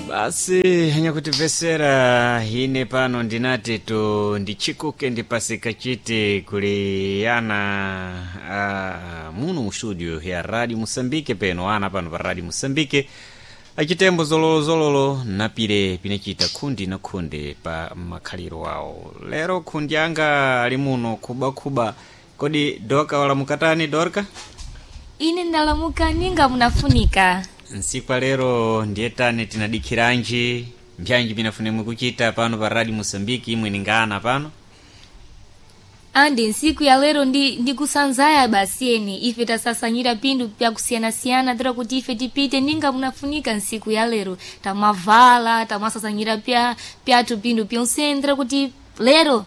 Basi hanyakutimvesera ine pano ndinati tu ndichikuke ndipasika chiti kuliyana muno mu studio ya Radio Mosambike peno ana pano pa Radio Mosambike achitembo zololozololo napile pinachita khundi na khundi pa makhaliro awo. Lero khundi anga ali muno khubakhuba. Kodi doka walamukatani, Dorka? Ine ndalamuka ninga munafunika. Nsiku lero ndiye tani tinadikhiranji mbyanji pinafunemwe kuchita pano pa Radio Mosambiki imwe ningana pano? Andi nsiku ya lero ndikusanzaya basi eni ife tasasanyira pindu pyakusiyanasiyana tira kuti ife tipite ninga munafunika. Nsiku ya lero tamavala, tamasasanyira pyathu pindu pyonsene tira kuti lero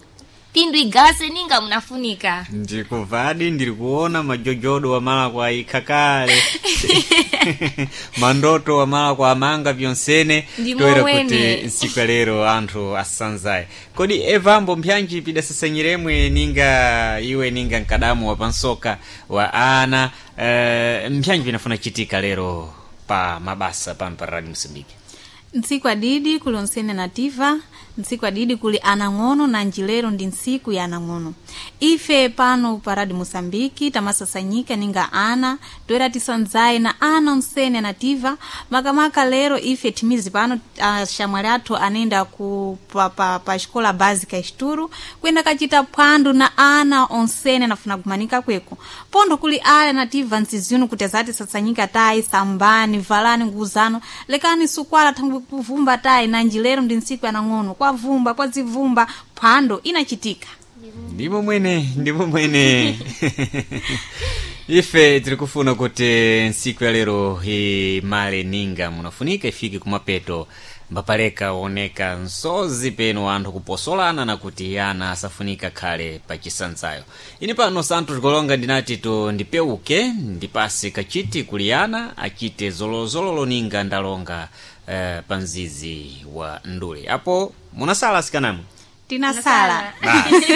pindu igase ninga munafunika. Ndikuvadi, ndiri kuona majojodo wamala kwa ikhakale, mandoto wamala kwa amanga pyonsene. Ndimo toera mwene. Kuti nsiku ya lero anthu asanzaye. Kodi evambo mpyanji pidasasanyiremwe ninga iwe ninga mkadamu wa pansoka wa ana, mpyanji pinafuna chitika lero pa mabasa pano pa Radio Mosambiki? Ntsiku adidi kuli onsene nativa, ntsiku adidi kuli anang'ono, na njilero ndi ntsiku ya anang'ono. Ife pano pa Radio Moçambike tamasasanyika ninga ana toera tisanzaye na ana onsene anativa. Makamaka lero ife timizi pano axamwali athu anayenda ku pa xikola básica Esturo kuyenda kacita phwando na ana onsene anafuna kumanika kweko. Pondo kuli ale anativa ntsizino kuti azati sasanyika tayi, sambani, valani nguzano, lekani sukwala thangwi kuvumba tayi. Na njilero ndi ntsiku yanang'ono, kwavumba kwazivumba, phwando inachitika. Ndimo mwene, ndimo mwene. Ife tiri kufuna kuti ntsiku ya lero imale ninga munafunika, ifike kumapeto mbapaleka oneka nsozi peno anthu kuposolana na kuti ana asafunika khale pa chisanzayo. Ine pano Santos Golonga ndinati tu ndipeuke ndipase kachiti kuliyana achite zolozololo ninga ndalonga pa mzizi wa ndule apo munasala asikanamwe. Tinasala. Basi.